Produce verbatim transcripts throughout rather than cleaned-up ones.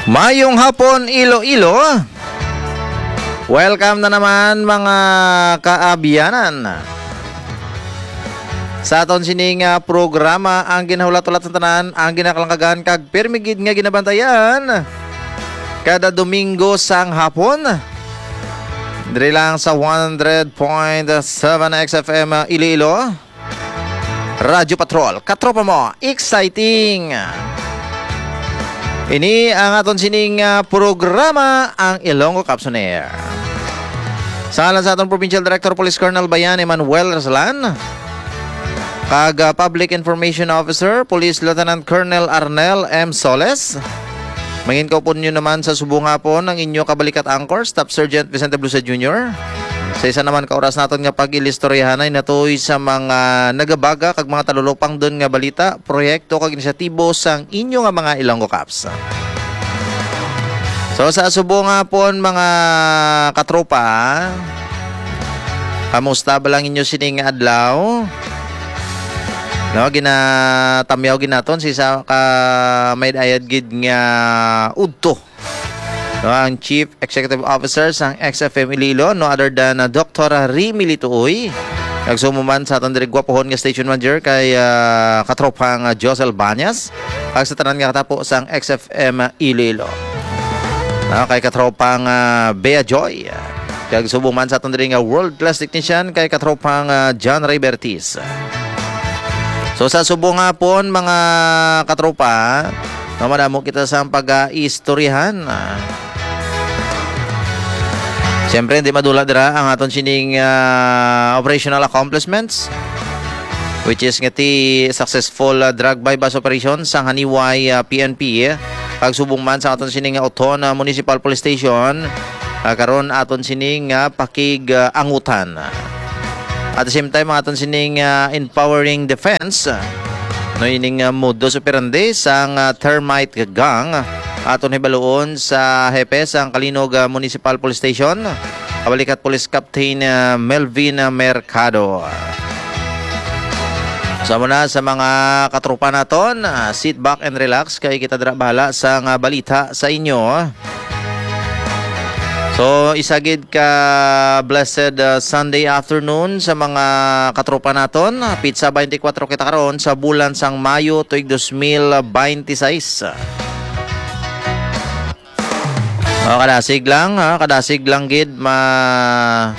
Mayong hapon, Iloilo. Welcome na naman, mga kaabyanan. Sa aton sining, ah, programa, ang ginahulat-hulat sa tanan, ang ginakalangkagan, kag pirmi gid nga ginabantayan, kada Domingo sang hapon, diri lang sa one hundred point seven X F M Iloilo. Radyo Patrol, katropa mo, exciting! Ini ang aton sining, ah, programa, ang Ilonggo Cops on Air. Sa ngalan sa aton Provincial Director Police Colonel Bayan Emmanuel Rasalan, kag, ah, Public Information Officer Police Lieutenant Colonel Arnel M Soles, mangin kaupod nyo naman sa subong hapon ang inyo kabalikat anchor, Staff Sergeant Vicente Blusa Junior. Sa isa naman ka oras naton nga pag-ilistoryahanay, natuy sa mga nagabaga kag mga talulopang dun nga balita, proyekto kag inisyatibo sang inyo nga mga Ilonggo Cops. So, sa subong hapon, mga katropa, kamusta ba lang inyo sining adlaw? No, ginatamyaw gid naton si sa ka may ayad gid nga udto. No, ang Chief Executive Officer sang X F M Iloilo, no other than, uh, Doctor Remy Lituoy. Nagsumuman sa aton diri gwapohon nga station manager kay, ah, katropang, ah, Josel Banyas. Kag sa tanan nga katapo sang X F M Iloilo. Ah, kay katropang, ah, Bea Joy. Kag subong man sa aton diri nga world class technician kay katropang, ah, John Ray Bertis. So, sa subong hapon, mga katropa, no, madamo kita sa pag-aistoryahan. Ah, siyempre, hindi madula dira ang aton sining, ah, operational accomplishments, which is nga ti successful, ah, drug buy-bust operation sang Haniway, ah, P N P. Kag subong man sa aton sining Oton, ah, Municipal Police Station, ah, karon aton sining, ah, pakig, ah, angutan. At the same time, ang aton sining, ah, empowering defense, ah, no, ining, ah, modus operandi sang, ah, termite gang, aton hibaluon sa hepe sang Calinog, ah, Municipal Police Station, kabalikat Police Captain, ah, Melvin, ah, Mercado. So, muna sa mga katropa naton, ah, sit back and relax kay kita dira bahala sa nga balita sa inyo. So, isa gid ka blessed, uh, Sunday afternoon sa mga katropa naton. Pitsa twenty-four kita karon sa bulan sang Mayo tuig dos mil baynte sais. Oh, kadasig lang, ha? Kadasig lang gid ma-,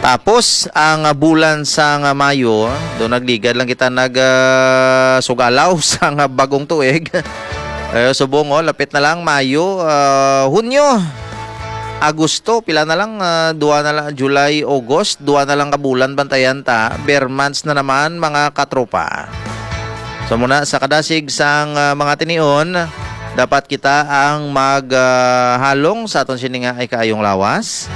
tapos ang, uh, bulan sang, uh, Mayo, do nagligad lang kita nag, uh, sugalaw sang, uh, bagong tuig. Eh, subong, oh, lapit na lang, Mayo, ah, Hunyo, Agosto, pila na lang, ah, duha na lang, July, August, duha na lang ka bulan, bantayan ta, bare months na naman, mga katropa. So, muna sa kadasig sang, ah, mga tinion, dapat kita ang mag, ah, halong sa aton sini nga ay kaayong lawas.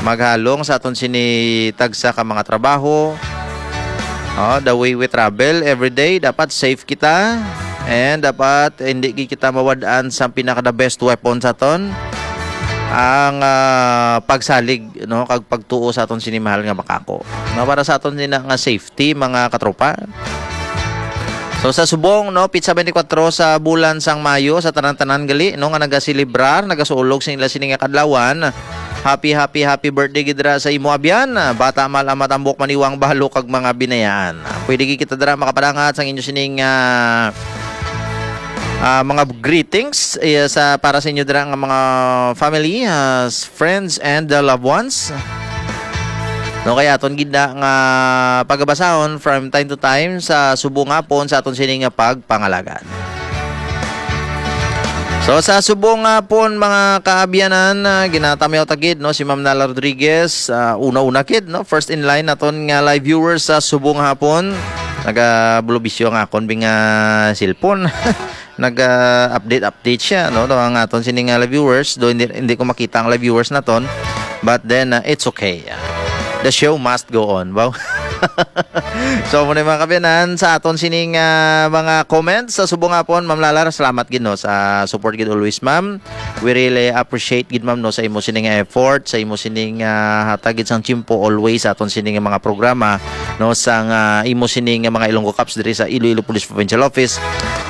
Maghalong sa aton sini tagsa ka mga trabaho. Oh, the way we travel every day, dapat safe kita. And dapat hindi gi kita mawad-an sa pinaka the best weapon sa aton, ang, ah, pagsalig, no, kag pagtuo sa aton sini mahal nga makako. No, para sa aton sina nga safety, mga katropa. So, sa subong, no, pitsa twenty-four sa bulan sang Mayo, sa tanan-tanan gali, no, nga nagaselebrar, nagasuulog sing ila sini nga kadlawan. Happy, happy, happy birthday gid dira sa imo abyan. Bata mal ang matambok, maniwang balo kag mga binayaan. Pwede gid kita dira makapadangat sang inyo sining, ah, ah, mga greetings, eh, sa, para sa inyo dira nga mga family, ah, friends and the loved ones. No, kaya aton gid na nga pagabasahon from time to time sa subong hapon sa aton sini nga pagpangalagad. So, sa subong hapon, mga kaabyanan, ah, ginatamyaw ta gid, no, si Ma'am Nala Rodriguez, ah, una-una gid, no, first in line naton nga live viewers sa subong hapon. Naga-bulubisyo ang akon bing, ah, cellphone. Nag-update, update siya, no? To ang aton sining, ah, live viewers, do hindi, hindi ko makita ang live viewers naton. But then, ah, it's okay. Ah, The show must go on. Wow. So, muna, mga kabiyanan, sa aton sining, ah, mga comments sa subong hapon, Ma'am Lalar, salamat gid, no, sa support gid always, ma'am. We really appreciate gid, ma'am, no, sa imo sining effort, sa imo sining, ah, hatag gid sang tiyempo always sa aton sining mga programa, no, sang, ah, imo sining mga Ilonggo Cops diri sa Iloilo Police Provincial Office,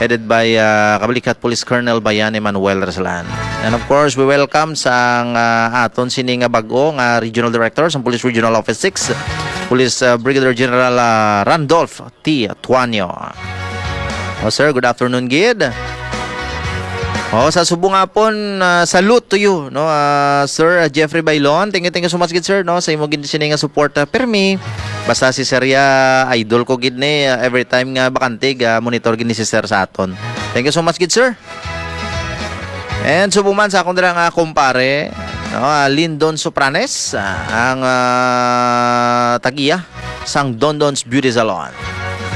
headed by, ah, Kabalikat Police Colonel Bayan Emmanuel Rasalan. And of course, we welcome sang, ah, aton sini nga bag-o nga Regional Director sang Police Regional Office six, Police, ah, Brigadier General, ah, Randolph T. Tuanyo. Oh, sir, good afternoon gid. Oh, sa subong hapon, ah, salute to you, no, ah, Sir, ah, Jeffrey Bailon. Thank you, thank you so much gid, sir, no, sa imo gid sini nga support, ah, permi. Basta si Sir ya, idol ko gid ni, ah, every time nga bakante, ga monitor gid ni si Sir sa aton. Thank you so much gid, sir. And subong man sa akon dira nga kumpare, no, ah, Lindon Sopranes, ah, ang, ah, tag-iya sang Dondon's Beauty Salon.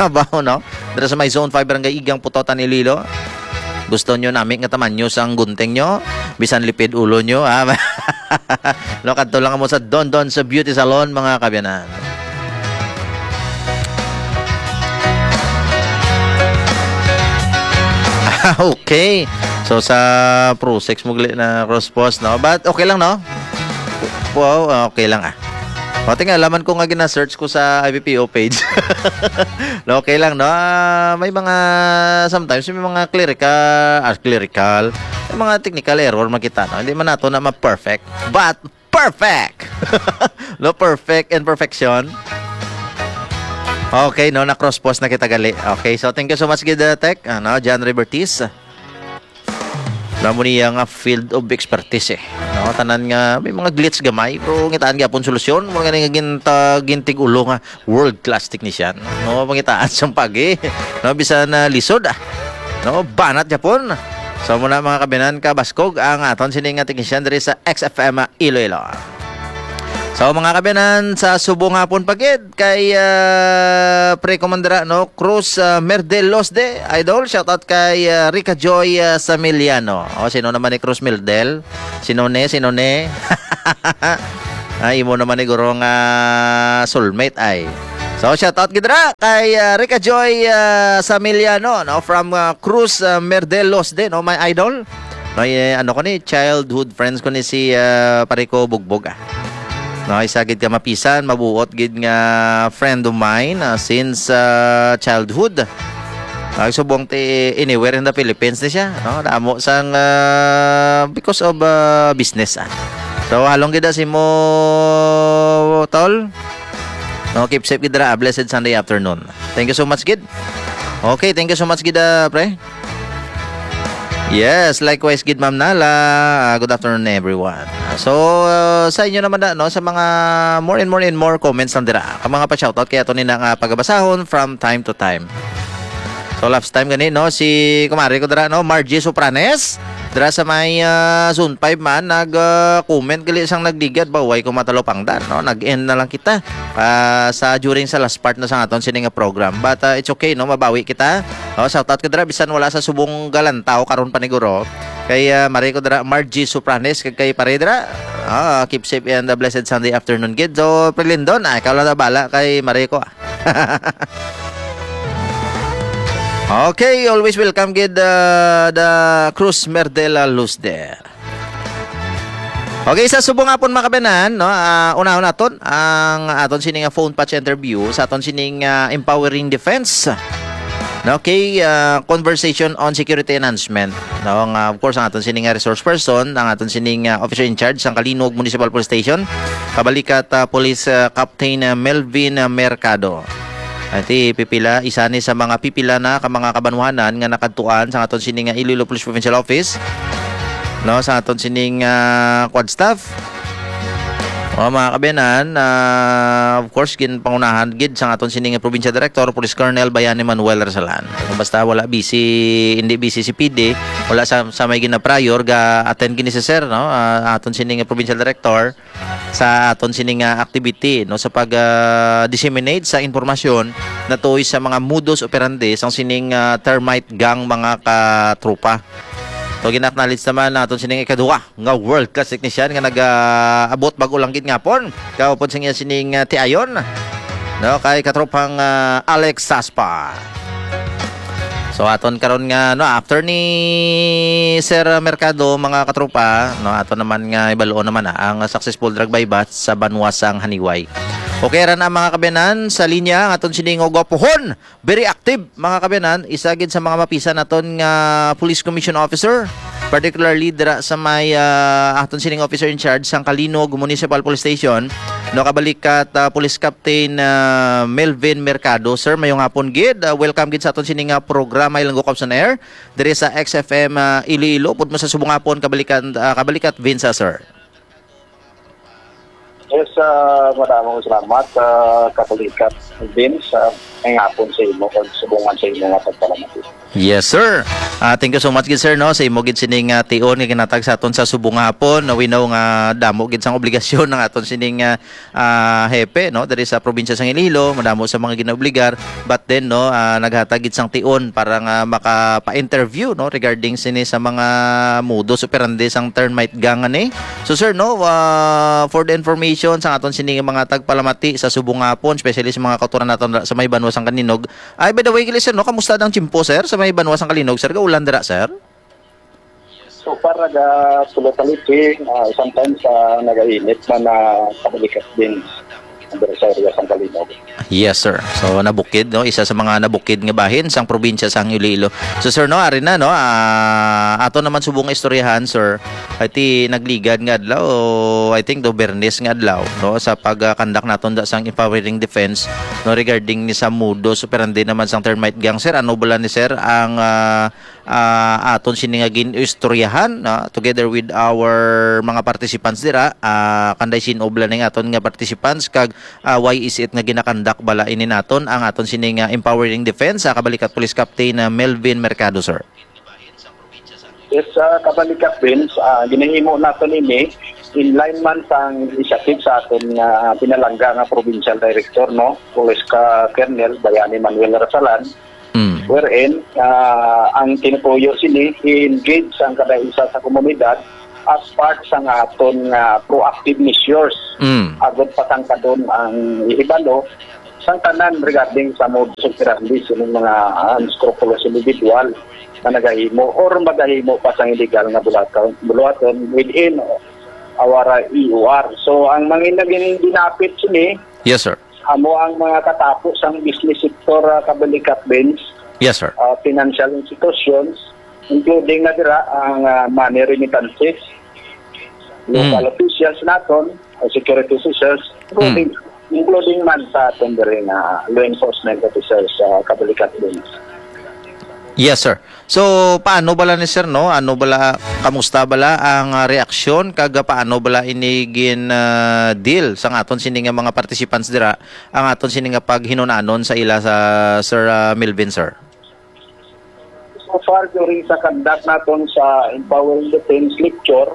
Kabaw, no? Dira sa may Zone five, Barangay Igang, Pototan, Iloilo. Gusto nyo nami nga tamanyo sang gunting nyo? Bisan lipid ulo nyo, ha? No, kadto lang mo sa Dondon's Beauty Salon, mga kabiyanan. Ah, okay. So, sa Pro Sex, mugli na cross post, no? But okay lang, no? Wow, okay lang, ah. Pati nga, laman ko nga gina-search ko sa I B P O page. No, okay lang, no? Ah, may mga, sometimes, may mga clerical, ah, clerical, may mga technical error makita, no? Hindi man nato na ma-perfect. But, perfect! No, perfect and perfection. Okay, no, na-cross post na kita gali. Okay, so thank you so much gid, uh, Tech, ano, John Ribertis. Namo niya nga field of expertise, eh. No, tanan nga may mga glitch gamay, pero ngitaan gyapon solusyon. Mo nga nga ginta-, gintig ulo nga world class technician. No, pangitaan sang pagi. No, bisan na lisod, ah. No, banat gyapon. So, muna, mga kabiyanan, kabaskog ang aton sini nga technician diri sa X F M Iloilo. So, mga kabiyanan, sa subong hapon pa gid kay, ah, pre ko man dira, no, Cruz, ah, Merdel Losde, idol. Shout out kay, ah, Rica Joy, ah, Samiliano. O, sino naman ni Cruz Merdel? Sino ni? Sino ni? Ay, imo naman ni guro nga soulmate ay. So, shout out gid ra kay, ah, Rica Joy, ah, Samiliano, no, from, ah, Cruz, ah, Merdel Losde, no, my idol. No, eh, ano ko ni, childhood friends ko ni si, ah, pare ko Bugbog, ah. No, isa gid ka mapisan, mabuot gid nga friend of mine, ah, since, ah, childhood. Ay, subong ti anywhere in the Philippines ni siya, no? Damo sang, ah, because of, ah, business, ah. So, halong gid si mo, tol. No, keep safe gid ra. Blessed Sunday afternoon. Thank you so much gid. Okay, thank you so much gid, ah, pre. Yes, likewise gid, Ma'am Nala. Ah, good afternoon, everyone. So, ah, sa inyo naman na, no, sa mga more and more and more comments lang dira. Ang mga pa-shoutout kaya to ni na nga pagabasahon from time to time. So, last time gani, no, si kumare ko dira, no, Margie Sopranes, dira sa may, ah, Zone five man, nag, ah, comment gali sang nagligad ba, way ko matalupangdan, no, nag-end na lang kita, ah, sa, during sa last part na sa aton sini nga program. But, ah, it's okay, no, mabawi kita. Oh, shout out ko dira, bisan wala sa subong galantaw karon paniguro. Kay, ah, mari ko dira, Margie Sopranes, kag kay pare dira. Ah, keep safe and a blessed Sunday afternoon, gid. So, Pre Lindon, ah, ikaw lang na bala kay mari ko, ah. Okay, always welcome gid, uh, the Cruz Merdela Luzder. Okay, sa subong hapon, mga kabanan, no? Ah, unahon naton ang aton sini nga phone patch interview sa aton sining, ah, empowering defense. Okay, ah, conversation on security enhancement. No, nga, of course, ang aton sini nga resource person, ang aton sining, ah, officer in charge sang Kalinog Municipal Police Station, kabalikat, ah, Police, ah, Captain, ah, Melvin, ah, Mercado. Ati pipila, isa ni sa mga pipila na ka mga kabanwahanan nga nakadtuan sa aton sini nga Iloilo Police Provincial Office, no, sa aton sining, ah, quad staff. O, mga kabayanan, ah, of course, ginpangunahan gid sa aton sining provincial director, Police Colonel Bayani Manuel Rasalan. Basta wala busy, hindi busy si P D, wala sa, sa may gina-prior, ga-attend gini si sir, no? Ah, aton sining provincial director sa aton sining, ah, activity, no, sa pag, ah, disseminate sa impormasyon natuoy sa mga modus operandi sang sining, ah, termite gang, mga katropa. So, gina-acknowledge naman naton sining ikaduha nga world class technician nga nag-abot bag-o lang gid ngapon. Kaupod sa iya sining, ah, tiayon, no, kay katropang, ah, Alex Saspa. So, aton karon nga, no, after ni Sir Mercado, mga katropa, no, aton naman nga ibaluon naman na ang successful drug buy bust sa banwa sang Haniway. Okay ra na, mga kabiyanan, sa linya ang aton sining gwapuhon. Very active, mga kabiyanan, isa gid sa mga mapisan naton nga police commission officer, particularly dira sa may, ah, aton sining officer in charge sang Calinog Municipal Police Station, no, kabalikat, ah, Police Captain, ah, Melvin Mercado. Sir, mayong hapon gid. Ah, welcome gid sa aton sining, ah, programa Ilonggo Cops on Air diri sa X F M, ah, Iloilo. Pud mo sa subong hapon, kabalikan, ah, kabalikat Vince, ah, sir. Yes, ah, madamong salamat, ah, kabalikat Vince, ah, ngayong hapon sa imo o subungan sa imo nga pagpalamati. Yes, sir. Ah, thank you so much gid, sir, no, sa imo gid sining, ah, tion nga ginatag sa aton sa subong nga hapon. No, we know nga damo gid sang obligasyon ng aton sining, ah, ah, hepe, no, diri sa probinsya sang Iloilo, madamo sa mga ginaobligar. But then, no, ah, naghatag gid sang tion para nga makapa-interview, no, regarding sini sa mga modus operandi sang termite gang ani. So, sir, no, ah, for the information sa aton sini nga mga tagpalamati sa subong nga hapon, especially sa mga kauturan naton sa may banwa sang Calinog. Ay, by the way, gali, sir, no, kamusta ang tiyempo, sir, sa may banwa sang Calinog, sir? Gaulan dira, sir? So far, naga-, sulit-sulit, ah, sometimes, ah, nagainit man na kabalikat din ang sa area sang Calinog. Yes, sir. So, nabukid, no? Isa sa mga nabukid nga bahin sang probinsya sang Iloilo. So, sir, no, ari na, no? Ah, ato naman subong nga istoryahan, sir. Ay, ti nagligad nga adlaw, I think, do Bernes nga adlaw, no? Sa pag-conduct naton da sang empowering defense, no? Regarding ni sa modus operandi naman sang termite gang, sir. Ano bala ni, sir, ang, ah, ah, aton sini nga gin-istoryahan, ah, together with our mga participants dira, ah, kanday sin-o bala ning aton nga participants kag, ah, why is it nga ginakandak bala ini naton ang aton sini nga empowering defense, ah, kabalikat Police Captain, ah, Melvin Mercado, sir? Yes, ah, kabalikat Vince, ah, ginahimo naton ini in line man sang initiative sa aton nga pinalangga nga provincial director, no, Police ka Colonel Bayani Manuel Rasalan, Mm. Wherein, ah, ang tinutuyo sini, i-engage ang kada isa sa komunidad as part sang aton nga proactive measures. Mm. Agod patangkadon ang ihibalo sang tanan regarding sa modus operandi sining mga unscrupulous individual nga nagahimo or magahimo pa sang illegal nga bulaton, buluhaton within our E O R. So, ang mga naging dinapit sini, Yes, sir. Amo ang mga katapo sang business sector, ah, kabalikat Vince, Yes, sir. ah, financial institutions, including na dira ang, ah, money remittances, local Mm. officials naton, ah, security officials, including, Mm. including man sa aton diri nga law enforcement officers, ah, kabalikat Vince. Yes, sir. So, paano bala ni sir, no? Ano bala, kamusta bala ang, ah, reaksyon kag, ah, paano bala ini gin, ah, deal sang aton sini nga mga participants dira, ang aton sini nga paghinunanon sa ila sa Sir, ah, Melvin, sir? So far, during sa conduct naton sa Empowering Defense Lecture,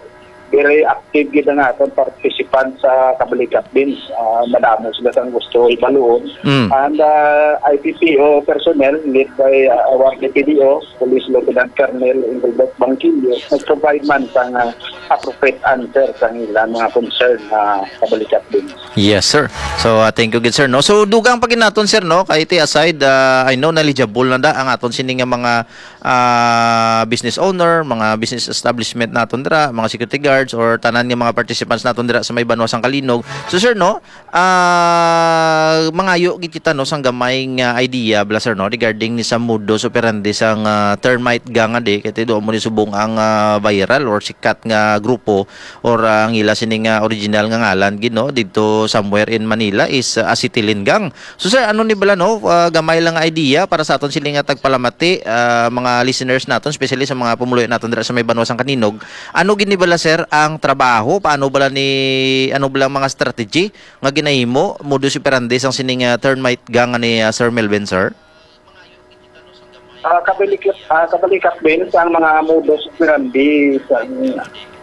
very active gid ang aton participant sa Kabalikat Beans. Ah, madamo sila sang gusto ibaluon. Mm. And, ah, I P P O personnel led by, ah, our D P D O, Police Lieutenant Colonel Engelbert Bangkilio, nag-provide man sang, ah, appropriate answer sa ilang mga concern, ah, Kabalikat Beans. Yes, sir. So, ah, thank you gid, sir, no? So, dugang pa gid naton, sir, no? Kay ti aside, ah, I know knowledgeable na da ang aton sini nga mga ah, business owner, mga business establishment naton dira, mga security guards, or tanan nga mga participants naton dira sa may banwa sang Calinog. So, sir, no, ah, mangayo gid kita, no, sang gamay nga idea, bala, sir, no, regarding ni sa modus operandi sang, ah, termite gang, adi, kay ti duo mo ni subong ang, ah, viral or sikat nga grupo or, ah, ang ila sini nga original nga ngalan gid, no, didto somewhere in Manila is, ah, acetylene gang. So, sir, ano ni bala, no? Ah, gamay lang nga idea para sa aton sini nga tagpalamati, ah, mga listeners naton, especially sa mga pumuluyo naton dira sa may banwa sang Calinog. Ano gid ni bala, sir, ang trabaho? Paano bala ni, ano bala ang mga strategy nga ginahimo, modus operandi sang sining, ah, termite gang ni, ah, Sir Melvin, sir? Ah, kabalikat, ah, kabalikat din sa mga modus operandi sa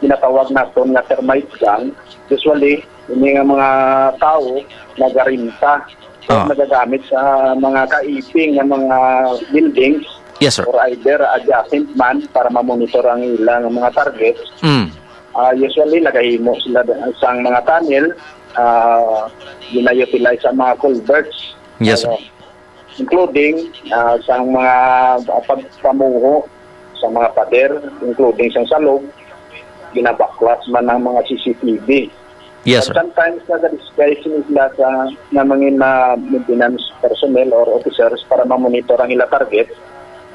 ginatawag naton nga termite gang. Usually, ini nga mga tao nagarenta o Ah. nagagamit sa mga kaiping nga mga buildings Yes, sir. Or either adjacent man para ma-monitor ang ilang mga target. Mm. Ah, usually, nagahimo sila sang mga tunnel, ah, gina-utilize ang mga culverts. Yes, sir. Ah, including, ah, sang mga pagpamuho sa mga pader, including sang salog, ginabaklas man ang mga C C T V. Yes, sir. But sometimes, nag-disguise sila sa, nga mga na maintenance personnel or officers para ma-monitor ang ila target.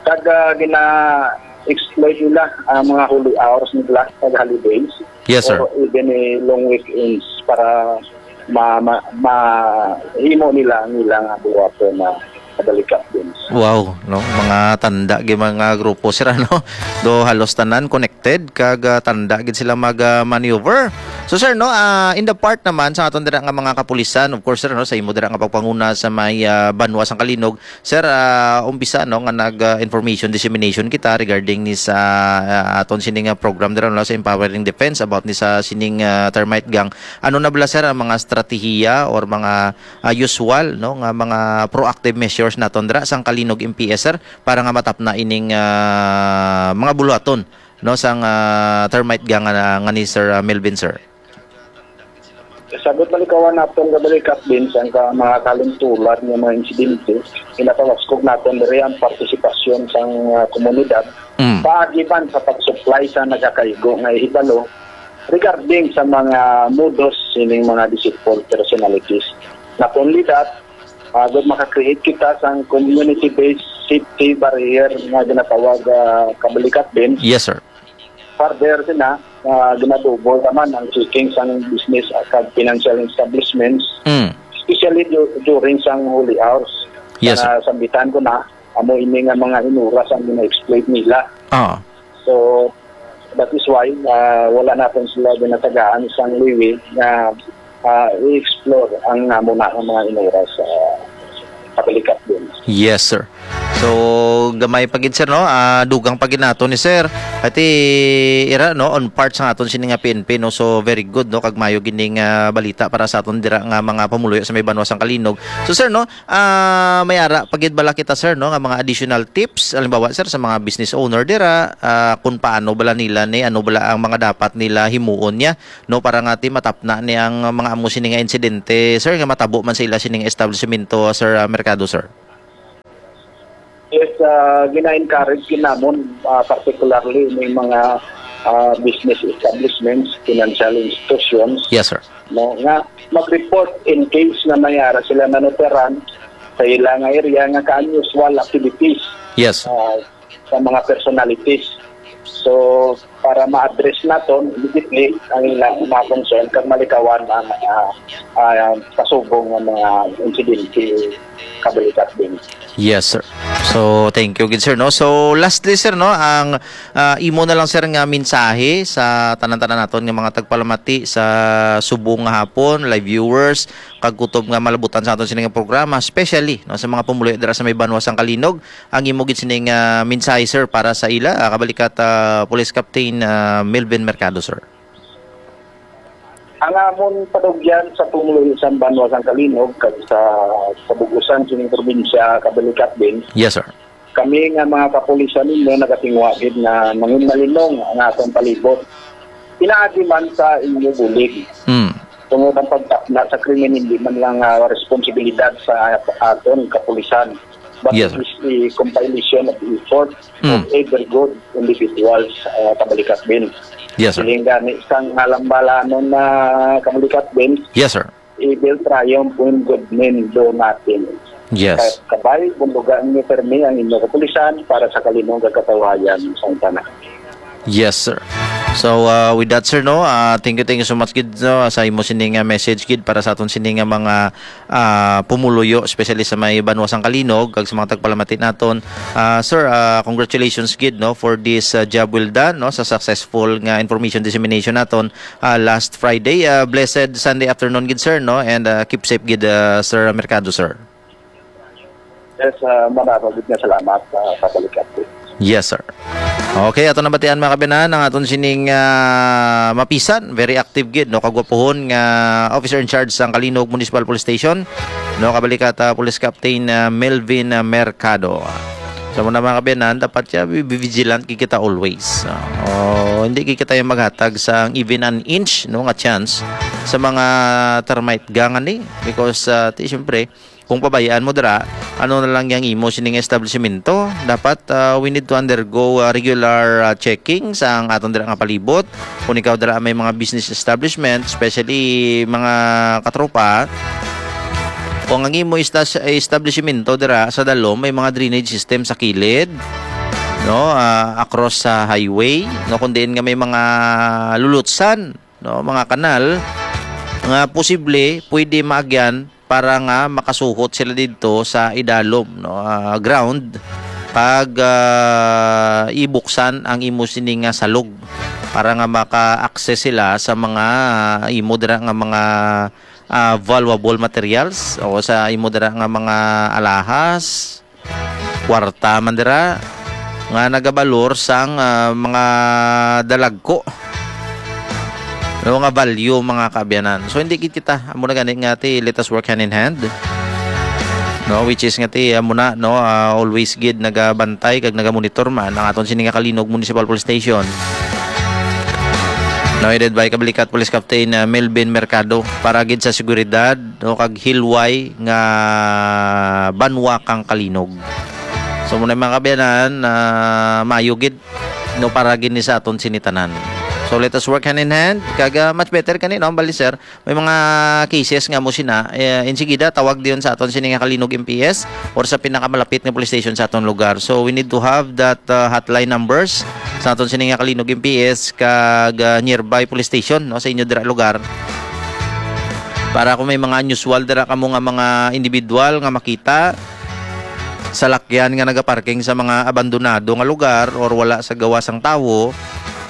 Kag, ah, gina-exploit nila ang mga holy hours nila, kag holidays. Yes, sir. Or even, eh, long weekends para ma, ma, mahimo nila ang ilang buhaton na kabalikat din. Wow, no? Mga tanda gid mga grupo, sir, ano? Do halos tanan connected kag, ah, tanda gid sila mag, ah, maneuver. So, sir, no, ah, in the part naman sa aton dira nga mga kapulisan, of course, sir, no, sa imo dira nga pagpanguna sa may, ah, banwa sang Kalinog, sir, ah, umpisa, no, nga nag, ah, information dissemination kita regarding ni sa, ah, aton sini nga program dira, no, sa Empowering Defense about ni sa sining, ah, termite gang. Ano na bala, sir, ang mga estratehiya or mga, ah, usual, no, nga mga proactive measures naton dira sang Kalinog M P S, sir, para nga matapna ining, ah, mga buluhaton, no, sang, ah, termite gang nga, nga ni Sir, ah, Melvin, sir? Sagot malikawan naton, kabalikat din sang ka, mga kalimtulan nga mga insidente, ginatawaskog naton diri ang partisipasyon sang, ah, komunidad. Mm. Paagi man sa pag-supply sa nagakaigo nga hibalo regarding sa mga modus sining mga deceitful personalities. Not only that, agud maka-create kita sang community-based safety barrier nga ginatawag, ah, kabalikat din. Yes, sir. Further sina, ah, ginadouble naman ang checking sang business kag financial establishments, Mm. especially du-, during sang holy hours. Yes, sir. Nga sambitan ko na, amo ini nga mga hinuras ang gina-exploit nila. Ah. So, that is why, ah, wala naton sila ginatagaan sang liwi nga, ah, i-explore ang amo na nga mga hinuras sa kabalikat din. Yes, sir. So, gamay pa gid, sir, no? Ah, dugang pa gid nato ni sir. Ati, ira, no, on part sa aton sini nga P N P, no? So, very good, no? Kag mayo gining, ah, balita para sa aton dira nga mga pumuluyo sa may banwa sang Kalinog. So, sir, no, ah, may ara pa gid bala kita, sir, no, nga mga additional tips, halimbawa, sir, sa mga business owner dira, ah, kung paano bala nila ni, ano bala ang mga dapat nila himuon niya, no, para nga ti matapna ni ang mga amo sini nga insidente, sir, nga matabo man sa ila sining establishmento, sir, ah, merkado, sir? Yes, ah, gina-encourage gid namon, ah, particularly may mga, ah, business establishments, financial institutions, Yes, sir. no, nga mag-report in case na may ara sila nanuteran sa ila nga area nga ka-unusual activities, Yes. ah, sa mga personalities. So, para ma-address naton immediately ang ilang mga concern kag malikawan ang, ah, ah, pasubong nga mga insidente kabalikat din. Yes, sir. So, thank you gid, sir, no? So, lastly, sir, no, ang, ah, imo na lang, sir, nga mensahe sa tanan-tanan naton nga mga tagpalamati sa subong nga hapon, live viewers, kag kutob nga malabutan sa aton sini nga programa, especially, no, sa mga pumuluyo dira sa may banwa sang Kalinog, ang imo gid sini nga mensahe, sir, para sa ila, ah, kabalikat, ah, Police Captain, ah, Melvin Mercado, sir. Ang amon panugyan sa pumuluyo sang banwa sang Kalinog kag sa, sa bug-usan sining probinsya, kabalikat din. Yes, sir. Kami nga mga kapulisan ninyo nagatinguha gid nga mangin malinong ang atong palibot. Pinaagi man sa inyo bulig. Mm. Tungod ang pagtapna sa krimen, hindi man lang, ah, responsibilidad sa aton kapulisan, but Yes, it sir. is a compilation of effort Mm. of every good individuals, ah, kabalikat din. Yes, sir. Siling gani sang halambalanon na kabalikat din, Yes, sir. Evil triumph when good men do nothing. Yes. Ka-, kabay, bundugan niyo permi ang inyo kapulisan para sa Kalinog kag katawayan sang tanan. Yes, sir. So, uh, with that, sir, no, uh, thank you, thank you so much gid, no, sa imo sini nga message gid para sa aton sini nga mga, uh, pumuluyo, especially sa may banwa sang Kalinog kag sa mga tagpalamati naton. Uh, sir, uh, congratulations gid, no, for this, uh, job well done, no, sa successful nga information dissemination naton, uh, last Friday. Uh, blessed Sunday afternoon gid, sir, no, and, uh, keep safe gid, uh, Sir Mercado, sir. Yes, ah, marami gid nga salamat, ah, sa balikan ko. Yes, sir. Okay, ato nabatian, mga kaabyanan, ang aton sining, ah, mapisan, very active gid, no, kagwapuhon nga officer in charge sang Kalinog Municipal Police Station, no, kabalikat, ah, Police Captain, ah, Melvin, ah, Mercado. So, muna, mga kabiyanan, dapat siya be be vigilant gid kita always. Ah, o, hindi gid kita yung maghatag sa even an inch, no, nga chance sa mga termite gang ani. Because, ah, ti, siyempre, kung pabayaan mo dira, ano na lang yang imo sining establishmento? Dapat, ah, we need to undergo, ah, regular, ah, checking sa ang aton dira nga palibot. Kung ikaw dira may mga business establishment, especially mga katropa, kung ang imo istas-, establishmento dira sa dalom may mga drainage system sa kilid, no, ah, across sa highway, no, kung diin nga may mga lulutsan, no, mga kanal nga posible pwede maagyan para nga makasuhot sila didto sa idalom, no, ah, ground, kag, ah, ibuksan ang imo sini nga salog para nga maka-access sila sa mga imo dira nga mga, ah, valuable materials o sa imo dira nga mga alahas, kwarta man dira nga nagabalor sang, ah, mga dalagko, no, nga value, mga kaabyanan. So, hindi gid kita amo na gani nga ti, let us work hand in hand, no, which is nga ti amo na, no, ah, always gid nagabantay kag nagamonitor man ang aton sini nga Kalinog Municipal Police Station. No, headed by Kabalikat Police Captain, ah, Melvin Mercado para gid sa seguridad, no, kag hilway nga banwa kang Kalinog. So, muna, mga kaabyanan, ah, maayo gid, no, para gid ni sa aton sini tanan. So, let us work hand in hand. Kag, ah, much better kani, no, ang bali, sir, may mga cases nga mo sina, eh, insigida tawag diyon sa aton sini nga Kalinog M P S or sa pinakamalapit nga police station sa aton lugar. So, we need to have that, uh, hotline numbers sa aton sini nga Kalinog M P S kag, uh, nearby police station, no, sa inyo dira lugar. Para kung may mga unusual dira kamo nga mga individual nga makita, salakyan nga nagaparking sa mga abandonado nga lugar or wala sa gawa sang tawo,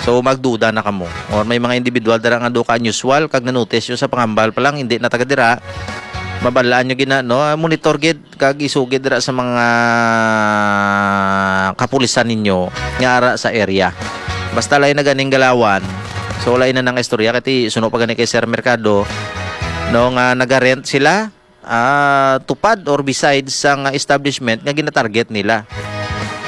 so magduda na kamo. Or may mga individual dira nga do ka unusual kag na-notice nyo sa panghambal pa lang, hindi na taga dira, mabalaan nyo gina, no? Monitor gid kag isugid dira sa mga kapulisan ninyo nga ara sa area. Basta lain na ganing galawan. So, lain na nang istorya kay ti suno pa gani kay Sir Mercado, no, nga nagarent sila, ah, tupad or beside sa nga establishment nga ginatarget nila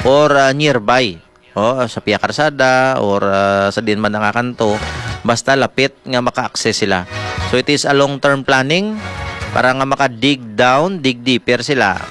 or, ah, nearby. O, sa Pia Karsada or, ah, sa diin man nga kanto, basta lapit nga maka-access sila. So, it is a long-term planning para nga maka-dig down, dig deeper sila.